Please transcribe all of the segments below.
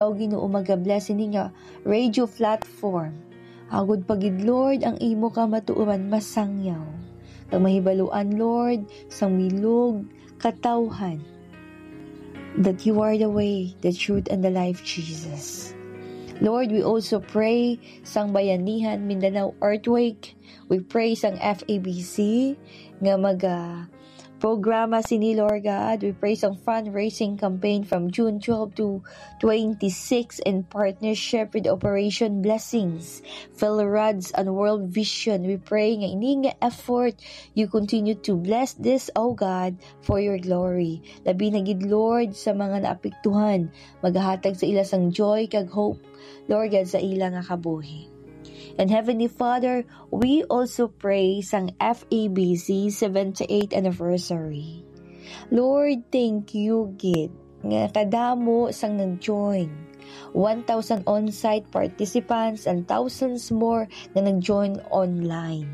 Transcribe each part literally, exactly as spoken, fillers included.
Ikaw, Ginoo, magabless ini nga radio platform. Agod pa gid, Lord, ang imo kamatuoran masangyaw. Kag mahibaluan, Lord, sang bilog katawhan, that you are the way, the truth, and the life, Jesus. Lord, we also pray sang Bayanihan Mindanao Earthquake. We pray sang F A B C nga maga programa sini, Lord God. We pray sang fundraising campaign from June twelve to twenty-six in partnership with Operation Blessings, Phil Rods, and World Vision. We pray nga ini nga effort, you continue to bless this, O God, for your glory. Labi na gid, Lord, sa mga naapektuhan, magahatag sa ila sang joy kag hope, Lord God, sa ila nga kabuhi. And Heavenly Father, we also pray sang F A B C seventy-eighth anniversary. Lord, thank you gid nga kadamo sang nag-join. One thousand on-site participants and thousands more nga nag-join online.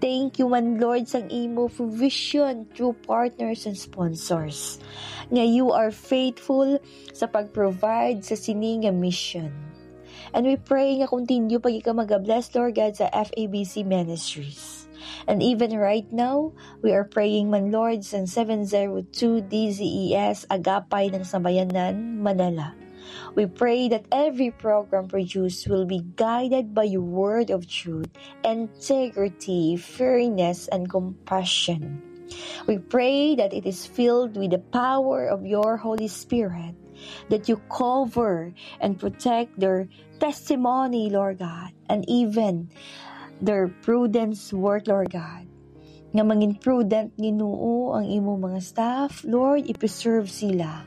Thank you man, Lord, sang imo provision through partners and sponsors, nga you are faithful sa pag-provide sa sini nga mission. And we pray nga continue pa gid ka mag-bless, Lord God, sa F A B C Ministries. And even right now, we are praying man, Lord, sa seven zero two D Z E S Agapay ng Sambayanan, Manila. We pray that every program produced will be guided by your word of truth, integrity, fairness, and compassion. We pray that it is filled with the power of your Holy Spirit, that you cover and protect their testimony, Lord God, and even their prudence work, Lord God. Nga mangin prudent, Ginoo, ang imo mga staff, Lord, i-preserve sila.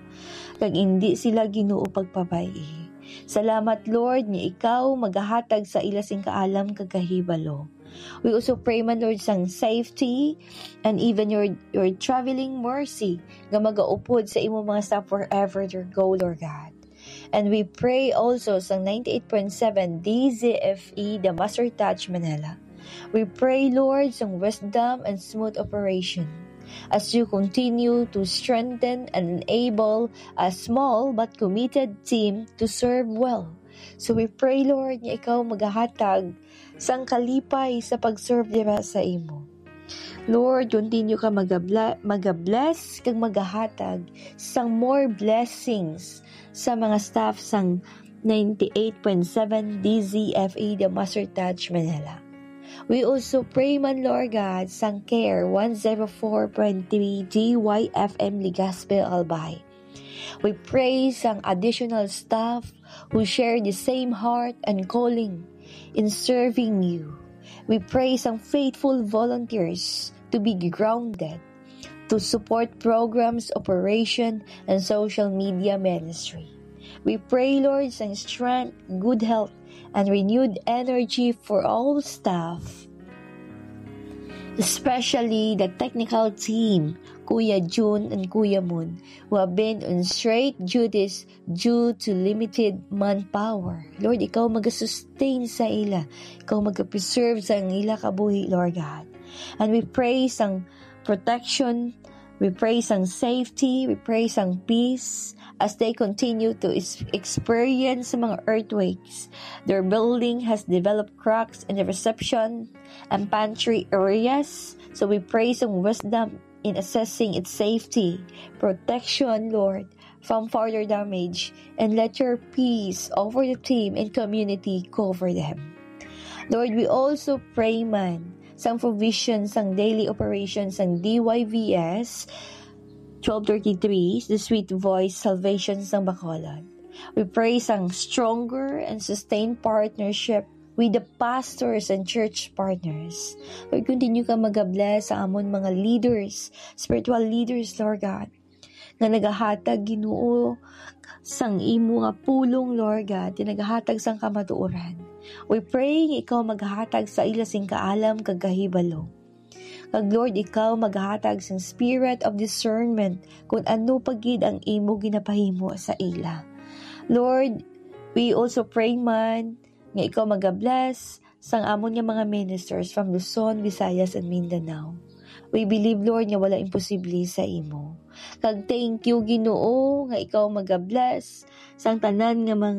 Kag indi sila, Ginoo, pagpabay-i. Salamat, Lord, nga ikaw magahatag sa ila sing kaalam kag kahibalo. We also pray man, Lord, sang safety and even your, your traveling mercy nga magaupod sa imo mga staff wherever they go, Lord God. And we pray also sa ninety-eight point seven D Z F E, The Master Touch Manila. We pray, Lord, sa wisdom and smooth operation as you continue to strengthen and enable a small but committed team to serve well. So we pray, Lord, nga ikaw magahatag sang kalipay sa pag-serve dira sa imo. Lord, continue ka magabla-, magabless kag magahatag sang more blessings sa mga staff sang ninety-eight point seven D Z F E, The Master Touch Manila. We also pray man, Lord God, sang Care one zero four point three D Y F M Legazpi, Albay. We pray sang additional staff who share the same heart and calling in serving you. We pray sang faithful volunteers to be grounded to support programs, operation, and social media ministry. We pray, Lord, sang strength, good health, and renewed energy for all staff, especially the technical team, Kuya Jun and Kuya Moon, who have been on straight duties due to limited manpower. Lord, ikaw magasustain sa ila. Ikaw magapreserve sa ila kabuhi, Lord God. And we pray sang protection. We pray sang safety. We pray sang peace as they continue to is-, experience sa mga earthquakes. Their building has developed cracks in the reception and pantry areas. So we pray sang wisdom in assessing its safety, protection, Lord, from further damage, and let your peace over the team and community cover them. Lord, we also pray man sang provision sang daily operations sang D Y V S twelve thirty-three, the Sweet Voice Salvation sang Bacolod. We pray sang stronger and sustained partnership with the pastors and church partners. Lord, continue ka magabless sa amon mga leaders, spiritual leaders, Lord God, nga nagahatag, Ginoo, sang imo nga pulong, Lord God, nga nagahatag sang kamatuoran. We pray nga ikaw maghatag sa ila sing kaalam kag kahibalo. Kag Lord, ikaw maghatag sang spirit of discernment kung ano pa gid ang imo ginapahimo sa ila. Lord, we also pray man nga ikaw magabless sang amon nga mga ministers from Luzon, Visayas, and Mindanao. We believe, Lord, nga wala imposible sa imo. Kag thank you, Ginoo, nga ikaw magabless sang tanan nga mga